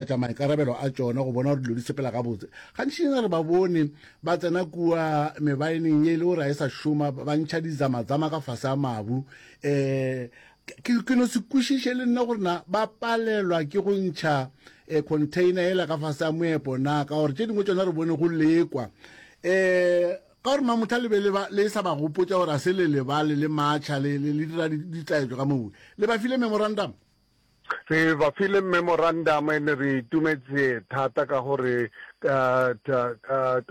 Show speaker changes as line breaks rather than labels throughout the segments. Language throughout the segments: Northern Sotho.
phethagatša maikarabelo a tšona go bona gore dilo di sepela gabotse. Gantšinyana re ba bone ba tsena kua mebaeneng ye e le gore ga e sa šoma, ba ntšha dizamazama ka fase ga mabu. Um ke, ke no se kwešiše le nna gore na ba palelwa ke go ntšha um container yela ka fase ga moepo na, ka gore tše dingwe tšona re bone go lekwa. Um ka gore Mamotha le be le ba, le sa ba gopotša gore a se le lebale le matšha le, le, le dira ditaetšo ka moo. Le ba file memorandum?
Re ba file memorandum ene re itumetse thata ka gore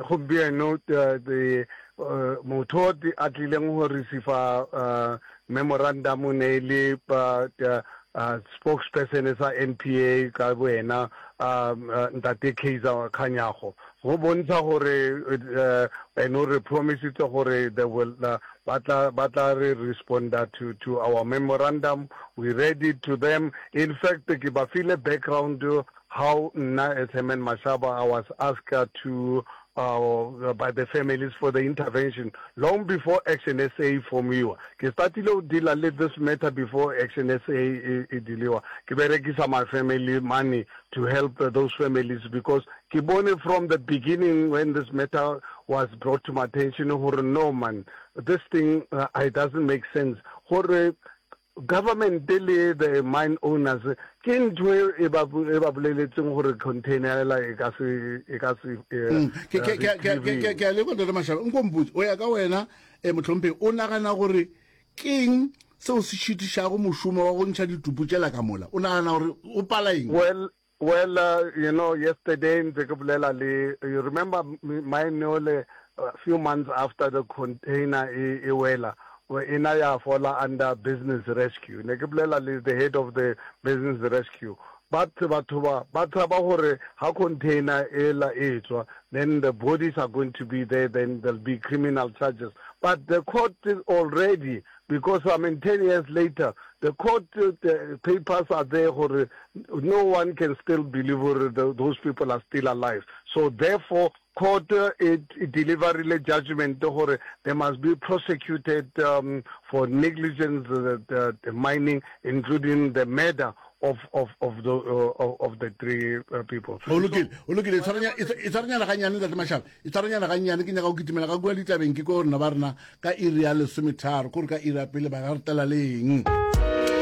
gompieno motho a tlileng go receiva memorandum ne e le spokesperson sa NPA ka boena ntate Kaizer Kganyago go bontsha gore ene o re promisitse gore they will Ba tla, ba tla re responda to, to our memorandum, we read it to them. In fact, ke ba file background how nna as Herman Mashaba I was asked to uh, by the families for the intervention long before Action SA e formiwa. Ke startile go deala le this matter before Action SA e, e dealiwa. Ke berekisa my family money to help those families because ke bone from the beginning when this matter was brought to my attention gore no man this thing uh, it doesn't make sense gore government le the mine owners ke ntho e, e ba e ba boleletseng gore container ela e ka se e ka se eh,
mm. ke ke ke ke ke a leboga ntate Mashaba nko mpotse o ya ka wena eh mohlomphegi o nagana gore keng seo se šitišago mošomo wa go ntšha ditupu tšela ka mola o nagana gore o pala eng
well Well, uh, you know, yesterday ntse ke bolela le, you remember mine ole a few months after the container e, e wela, e na ya fola under business rescue. Ne ke bolela le the head of the business rescue. But batho ba ba tshaba gore ha container ela e tswa, then the bodies are going to be there, then there'll be criminal charges. But the court is already because I mean 10 years later the court the papers are there gore no one can still believe gore those people are still alive so therefore court it, it deliverile judgment gore they must be prosecuted um, for negligence the, the, the mining including the murder of of of the uh, of the three uh, people.
O lokile, o lokile, itshwarenyana gannyane ntate Mashaba, itshwarenyana gannyane ke nyaka go kitimela ka kua ditabeng ke ko rena ba rena ka iri ya lesometharo, kore ka iri ya pele ba ga re tlela le eng.